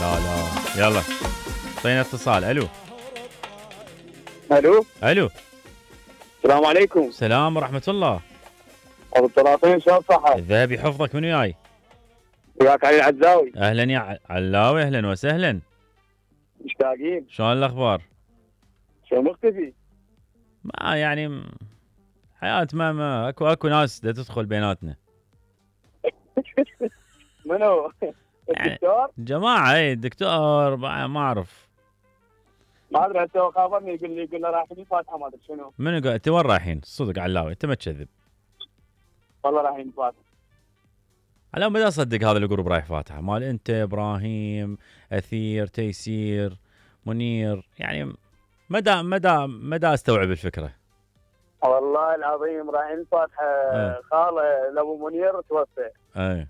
لا لا يلا اعطينا اتصال. الو الو الو السلام عليكم. السلام ورحمة الله. ابو الطرافين شلون صحة؟ الذهبي حفظك من وياي؟ وياك علي العزاوي. اهلا يا علاوي، اهلا وسهلا. مشتاقين. شلون الاخبار؟ شو مختفي؟ ما يعني حياة ما اكو ناس دا تدخل بيناتنا. منو؟ يعني الدكتور؟ جماعة الدكتور ما اعرف. ما ادري هسه هو خابرني يقول لي رايحين الفاتحة ما ادري شنو. منو قال؟ انت وين رايحين؟ صدق علاوي انت ما تكذب. والله رايحين الفاتحة. علاوي ما اصدق هذا الجروب رايح فاتحة مال انت ابراهيم اثير تيسير منير، يعني مدى استوعب الفكرة. والله العظيم رايحين الفاتحة. خاله لابو منير توفى. اي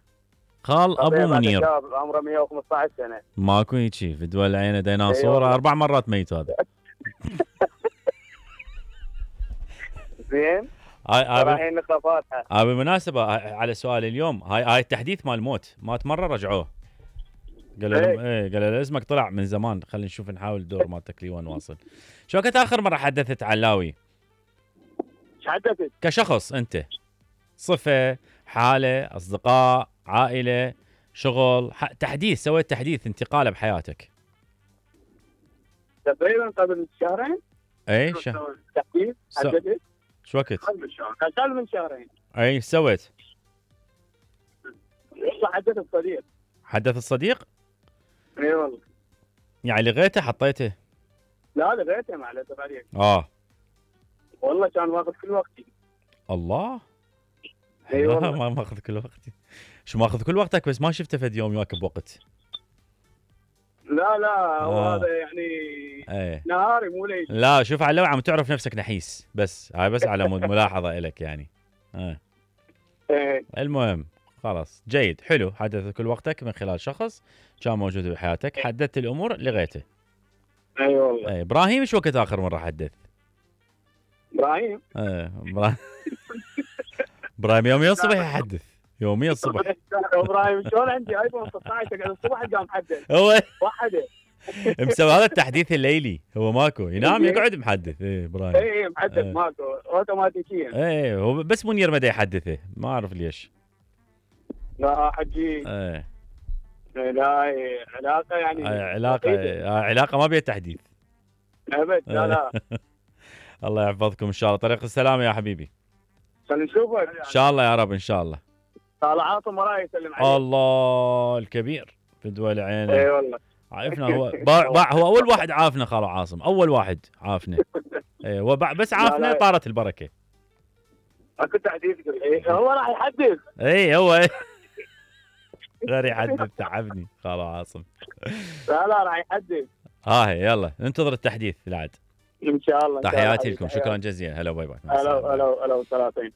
خال ابو منير شاب عمره 115 سنة. ماكو هيجي في دول العين ديناصور 4 مرات ميت هذا. زين. رايحين نقرا فاتحة. بالمناسبة على سؤال اليوم، هاي التحديث مال الموت مات مرة رجعوه. قالوا له اسمك طلع من زمان، خلينا نشوف نحاول الدور مالتك لي وين واصل. شو كنت اخر مرة حدثت علاوي؟ ايش حدثت؟ كشخص انت، صفة، حالة، اصدقاء، عائلة، شغل، تحديث، سويت تحديث انتقالة بحياتك. تقريبا قبل شهرين. اي تحديث حدثت. شو وقت؟ قبل من شهرين. اي سويت؟ حدث الصديق. حدث الصديق؟ اي والله. يعني لغيته حطيته؟ لا لغيته ما عليه عليك. والله كان ماخذ كل وقتي. الله. اي والله. ما ماخذ كل وقتي. شو ماخذ كل وقتك بس ما شفته فد يوم يواكب وقت. لا هو هذا يعني نهاري مو ليل. لا شوف على عم تعرف نفسك نحيس، بس هاي بس على ملاحظة إلك يعني. المهم خلاص جيد حلو. حدث كل وقتك من خلال شخص كان موجود بحياتك، حددت الأمور لغيته. اي والله. إبراهيم شو وقت آخر مرة حدث؟ إبراهيم. إبراهيم يوميا الصبح يحدث، يوميا الصبح. إبراهيم شلون عندي ايفون 16 اقعد الصبح قام محدث. هو وحده. مسوي هذا التحديث الليلي، هو ماكو ينام يقعد محدث. إبراهيم. اي محدث ماكو اوتوماتيكيا. هو بس منير ما يحدثه، ما اعرف ليش. لا حجي. لا علاقه يعني. علاقه ما بيها تحديث. ابد لا. الله يحفظكم ان شاء الله. طريق السلامه يا حبيبي. خلينا نشوفك ان شاء الله يا رب ان شاء الله. طال عاصم وراي يسلم عليك. الله الكبير في دول عينه. اي والله. عارفنا هو هو اول واحد عافنا خالو عاصم، اول واحد عافنا. بس عافنا طارت البركه. اكو تحديث هو راح يحدث. هو غير يحدث تعبني خالو عاصم. لا راح يحدث. يلا ننتظر التحديث العاد ان شاء الله. تحياتي لكم، شكرا جزيلا. هلا باي باي. هلا 30.